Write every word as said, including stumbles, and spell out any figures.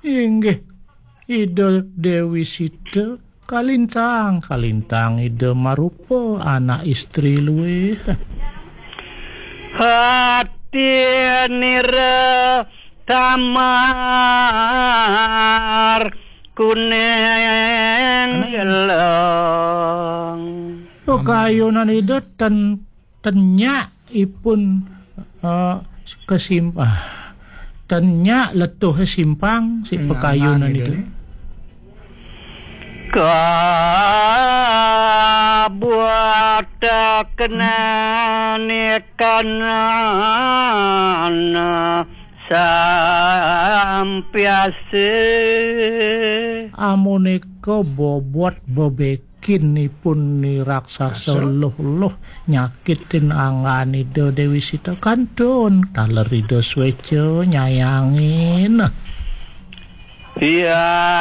Inggih, Ida Dewi Sita kalintang, kalintang Ida marupa anak istri luwih. Hati nira tamar kuning gelong. Pakayunan Ida ten, tenyak ipun, eh, kesimp-, ah, tenyak letuh simpang si pakayunan Ida. Kabuat kenani kanana sampiase. Amunika bobot bebekinipun ni raksasa luh-luh nyakitin anggan Ida Dewi Sita kantun taler Ida sweca nyayangin. Iya.